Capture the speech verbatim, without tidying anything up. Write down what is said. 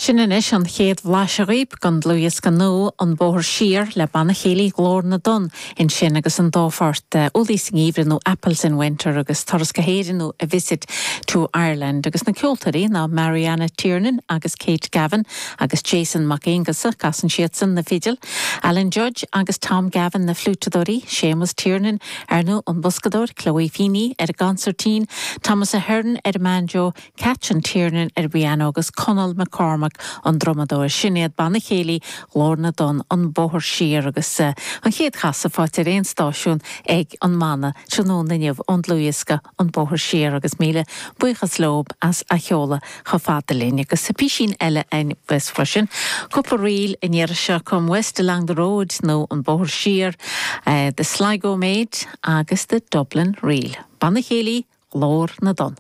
Sin anois an chéad bhlaiseadh dhaoibh den dlúthdhiosca nua An Bóthar Siar le Banna Céilí Ghlór na dTonn ansin agus an dá phort Úllaí sa nGeimhreadh nó Apples in Winter agus Turas go hÉirinn nó A Visit to Ireland agus na ceoltóirí ná Mariana Tiernan agus Kate Gavin agus Jason Mac Aonghusa casann siadsan na fidil, Alan Judge agus Tom Gavin na fliúiteadóirí, Seamus Tiernan ar ndóigh an boscadóir, Chloe Feeney ar an gconsairtín, Thomas Ahern ar an mbanjo, Catherine Tiernan ar piano agus Conall McCormack an drumadóir sin iad Banna Céilí Ghlór na dTonn An Bóthar Siar agus uh, an chéad chasadh faighte ar aon stáisiún ag an mbanna tráthnóna inniu ón dlúthdhiosca An Bóthar Siar agus míle buíochas leo as a sheoladh chomh fada linn agus sa písín eile an bes freisin. Cúpla ríl in seo Come West Along the Road nó An Bóthar Siar, uh, the Sligo Maid agus the Dublin Reel. Banna Céilí Ghlór na dTonn.